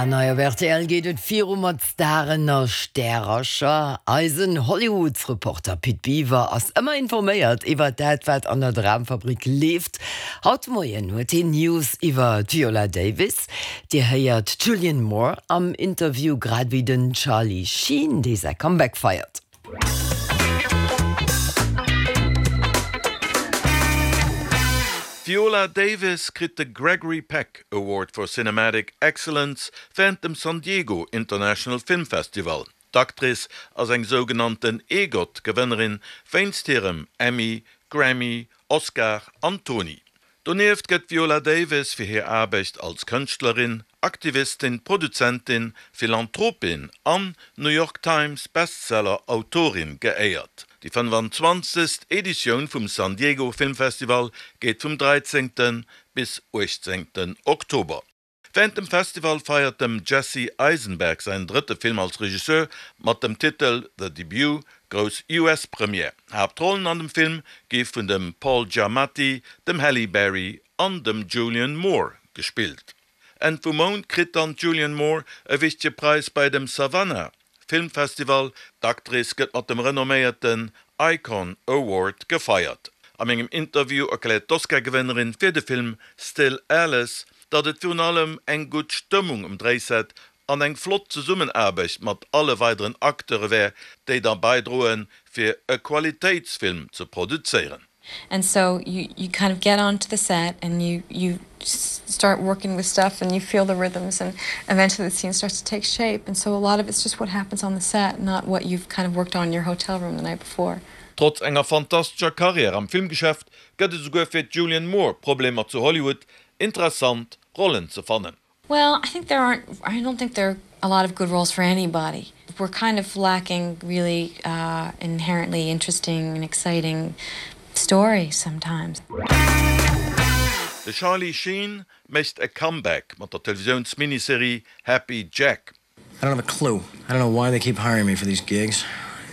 An hei op rtl geet et viru mat Staren a Stärercher. Eisen Hollywoodsreporter Pit Biwer ass ëmmer informéiert iwwer dat, wat an der Dramfabrik leeft. Haut de Moien huet hien News iwwer d'Viola Davis. Dir héiert d'Julianne Moore am Interview, grad ewéi den Charlie Sheen, dee säi Comeback feiert. D'Viola Davis kritt de Gregory Peck Award for Cinematic Excellence wärend dem San Diego International Film Festival. D'Actrice ass eng sougenannten EGOT-Gewënnerin wéinst hirem Emmy, Grammy, Oscar an Tony. Donieft gëtt d'Viola Davis fir hir Aarbecht als Kënschtlerin, Aktivistin, Produzentin, Philanthropin an New York Times Bestseller Autorin geéiert. Déi 25. Editioun vum San Diego Filmfestival geet vum 13. bis 18. Oktober. Wärend dem Festival feiert dem Jesse Eisenberg säin drëtte Film als Regisseur mat dem Titel The Debut grouss US-Première. Haaptrollen an dem Film gi vun dem Paul Giamatti, dem Halle Berry an dem Julianne Moore gespillt. Enn vum Mount kritt dann d'Julianne Moore e wichtege Präis bei dem Savannah Filmfestival, D'Actrice gëtt mat dem renomméierten Icon Award gefeiert. A mengem Interview erkläert d'Oscar-Gewënnerin fir de Film Still Alice, datt et virun allem eng gutt Stëmmung um Dréiset an eng flott Zesummenaarbecht mat alle weideren Acteure wär, déi da baidroen, fir e Qualitéitsfilm ze produzéieren. And so you you kind of get onto the set and you you start working with stuff and you feel the rhythms and eventually the scene starts to take shape and so a lot of it's just what happens on the set, not what you've kind of worked on in your hotel room the night before. Trotz enger fantastescher Karriär am Filmgeschäft gëtt et esouguer fir d'Julianne Moore Problemer zu Hollywood, interessant Rollen ze fannen. Well, I think there aren't I don't think there are a lot of good roles for anybody. We're kind of lacking really uh, inherently interesting and exciting stories sometimes. De Charlie Sheen mécht e Comeback mat der Televisiouns-Miniserie Happy Jack. I don't have a clue. I don't know why they keep hiring me for these gigs,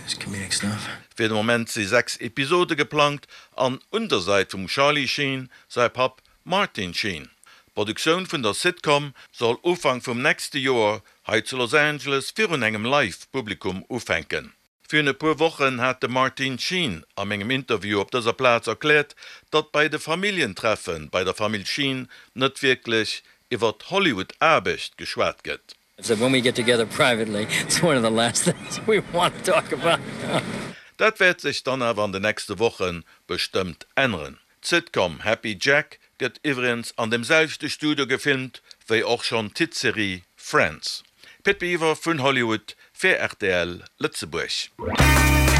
this comedic stuff. Fir de Moment si 6 Episode geplangt an un der Säit vum Charlie Sheen säi Papp Martin Sheen. D'Produktioun vun der Sitcom soll Ufank vum nächste Joer hei zu Los Angeles virun engem Live-Publikum ufänken. Virun e puer Wochen hat de Martin Sheen a mengem Interview op dëser Plaz erkläert, datt bei de Familljentreffe bei der Famill Sheen net wierklech iwwer Hollywood-Aarbecht geschwat gëtt. So when we get together privately, it's one of the last things we want to talk about. Dat wäert sech dann awer an de nächste Woche bestëmmt änneren. D'Sitcom Happy Jack gëtt iwwregens an dem selwechte Studio gefilmt wéi och schonn d'Hitserie Friends. Pit Biwer vun Hollywood fir rtl Lëtzebuerg.